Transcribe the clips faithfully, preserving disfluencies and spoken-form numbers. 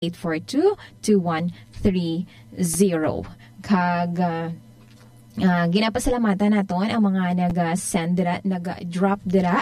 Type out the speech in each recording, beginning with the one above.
eight four two, two one three zero. Kag, ah, ah, ginapasalamatan naton ang mga nag-send dira, nag-drop dira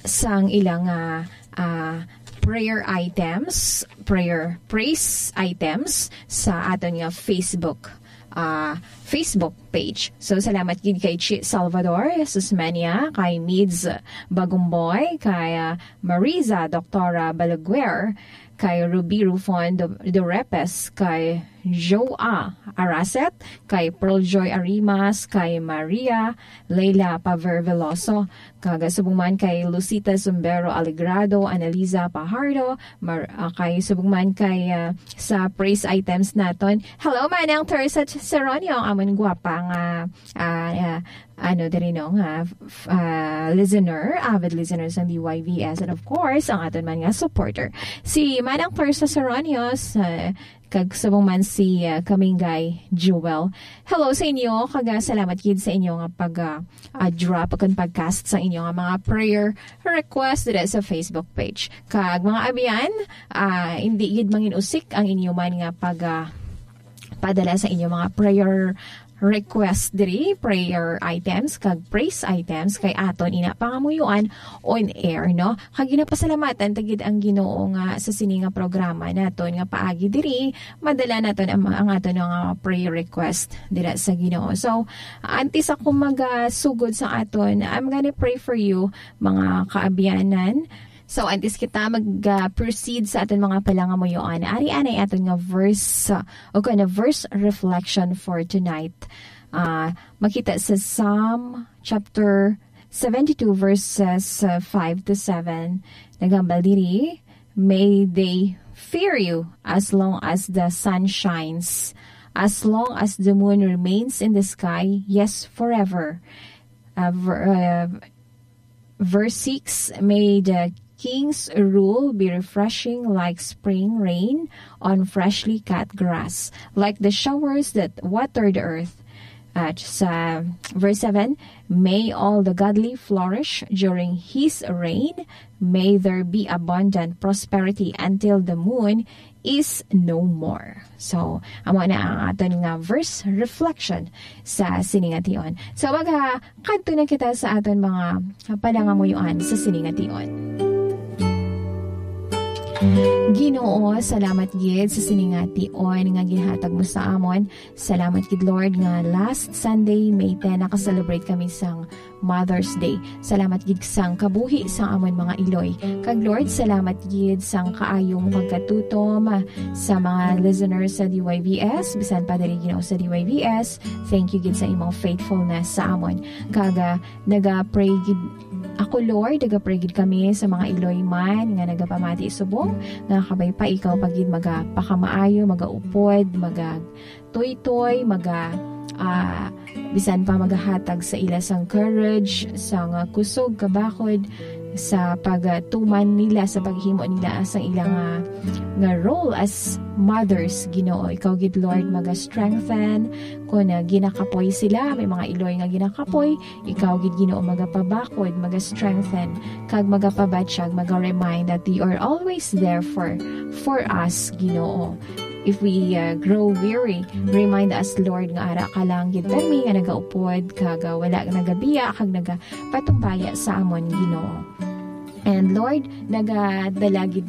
sang ilang, ah, ah, prayer items, prayer praise items sa aton nga Facebook, ah, Facebook page. So, salamat gid kay Chi Salvador Susmania, kay Mids Bagumboy, kay, ah, Mariza Doktora Balaguer, kay Ruby Rufon Do-, Dorepes, kay Joa Araset, kay Pearl Joy Arimas, kay Maria Leila Paver Veloso, kag subong man kay Lucita Zumbero Aligrado, Analiza Pajardo, Mar-, ah, kay subong man kay, ah, sa praise items naton. Hello, Manang Teresa Seronio, amon gwapa nga, ah, ah, ano diri, no, nga, f-, ah, listener, avid listener sang D Y V S, and of course, ang aton man nga supporter, si Manang Teresa Seronio, sa, kag subong man si, ah, Kamingay Jewel. Hello sa inyo, kag, ah, salamat gid sa inyo nga pag, ah, ah, drop kag pag-cast sa inyo nga mga prayer request dira sa Facebook page. Kag mga abyan, ah, hindi gid manginusik ang inyo man nga pag, ah, padala sa inyo mga prayer request diri, prayer items, kag praise items, kay aton ina pangamuyoan on air, no? Kag ginapasalamatan ta gid ang Ginoo nga sa sini nga programa naton nga paagi diri, madala naton ang, ang aton nga prayer request dira sa Ginoo. So, antes ako magasugod sa aton, I'm gonna pray for you, mga kaabyanan. So, antes kita mag, ah, proceed sa aton mga palangamuyoan, ari anay aton nga verse, ah, o kana verse reflection for tonight. Ah, makita sa Psalm chapter seventy-two, verses, ah, five to seven. Naghambal diri, "May they fear you as long as the sun shines, as long as the moon remains in the sky, yes, forever." Ah, ver-, ah, Verse six, "May the king's rule be refreshing like spring rain on freshly cut grass, like the showers that water the earth." At sa verse seven, "May all the godly flourish during his reign. May there be abundant prosperity until the moon is no more." So, amo na ang aton nga verse reflection sa sini nga tion. So, magakadto na kita sa aton mga palangamuyoan sa sini nga tion. Ginoo, salamat gid sa sini nga tion nga ginhatag mo sa amon. Salamat gid, Lord, nga last Sunday, May ten, naka-celebrate kami sang Mother's Day. Salamat gid sang kabuhi sang amon mga iloy. Kag Lord, salamat gid sang kaayo mo pagkatutom sa mga listeners sa D Y V S, bisan pa diri, Ginoo, sa D Y V S. Thank you gid sa imong faithfulness sa amon. Kag, ah, naga-pray gid ako, Lord, naga-pray gid kami sa mga iloy man nga nagapamati subong nga kabay pa ikaw pa gid magapakamaayo, magaupod, maga tuytoy, maga, ah, bisan pa magahatag sa ila sang courage, sang, ah, kusog, kabakod, sa pagtuman nila, sa paghimo nila sang ila nga, nga role as mothers, Ginoo. Ikaw gid, Lord, maga-strengthen. Kung, ah, ginakapoy sila, may mga iloy nga ginakapoy, ikaw gid, Ginoo, magapabakod, maga-strengthen, kag magapabatyag, maga-remind that you are always there for, for us, Ginoo. If we, uh, grow weary, remind us, Lord, nga ara ka lang gid kami nga nagaupod, kag, uh, wala nagabiya, kag nagapatumbaya sa amon, Ginoo. And Lord, nagadala gid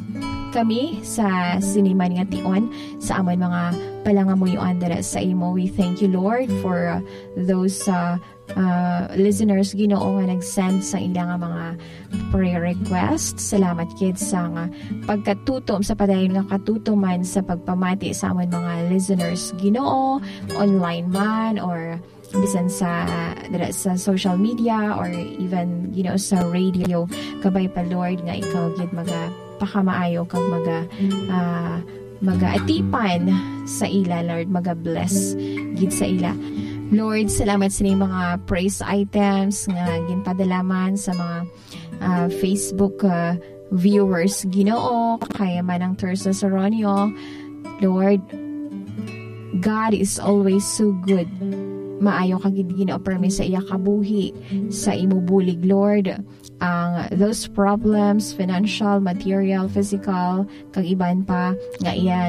kami sa sini man nga tion sa amon mga palangamuyoan dira sa imo. We thank you, Lord, for, uh, those, uh, uh, listeners, Ginoo, nga nag-send sa ila nga mga prayer request. Salamat gid sa nga pagkatutom, sa padayon nga katutuman sa pagpamati sa amon mga listeners, Ginoo, online man or bisan sa, dira sa social media or even, Ginoo, sa radio. Kabay pa, Lord, nga ikaw gid magapakamaayo kag maga, ah, magaatipan sa ila, Lord, maga-bless gid sa ila. Lord, salamat sa ining mga praise items nga ginpadala man sa mga, ah, Facebook, ah, viewers. Ginoo, kay Manang Teresa Soronio, Lord, God is always so good. Maayo ka gid, Ginoo, permi sa iya kabuhi, sa imo bulig, Lord. Ang those problems, financial, material, physical, kag iban pa nga iya